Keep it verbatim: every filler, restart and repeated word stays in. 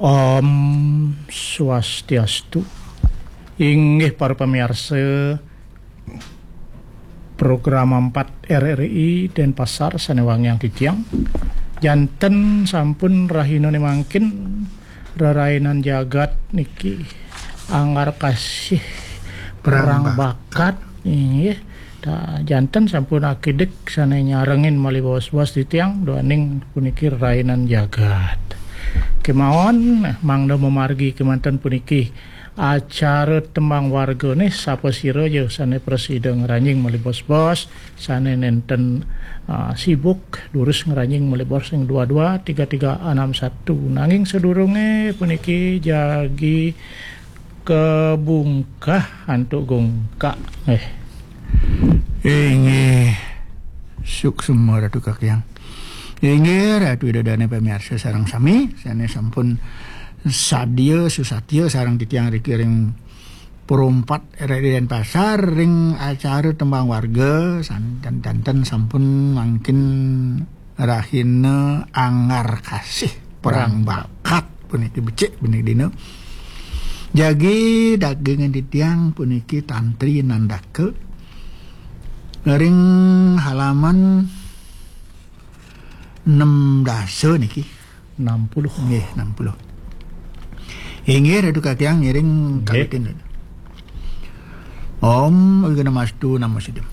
Om Swastiastu. Inggih para pamiarsa, program empat R R I Denpasar sane wangiang titiang. Janten sampun rahinane mangkin, rerainan jagat niki anggar kasih perang bakat, inggih. Janten sampun akidik sane nyarengin malih bos-bos titiang duaning puniki rerainan jagat. Kemawon mangda mamargi kemanten puniki acara tembang wargane, sapasira ja sane prasida ngranjing malih bos-bos, sane nenten ah, sibuk durus ngranjing malih bos ring dua dua tiga tiga enam satu. Nanging sadurunge puniki jagi kabungkah antuk gungkak. Eh. Inggih. Suksma Ratu Kakyang. Inggih, Ratu Ida Dane pamiarsa sareng sami, sane sampun sadia susatya sareng titiang riki ring Pro empat R R I Denpasar ring acara tembang warga, san-, dan janten sampun mangkin rahina anggar kasih perang bakat puniki becik puniki dina. Jagi dagingan titiang puniki Tantri Nandaka ring halaman enam dasa niki. Enam puluh. Nggih, enam puluh. Inggih, Ratu Kakyang ngiring. Nggih. Kawitin. Om Awighnamastu Namo Siddham.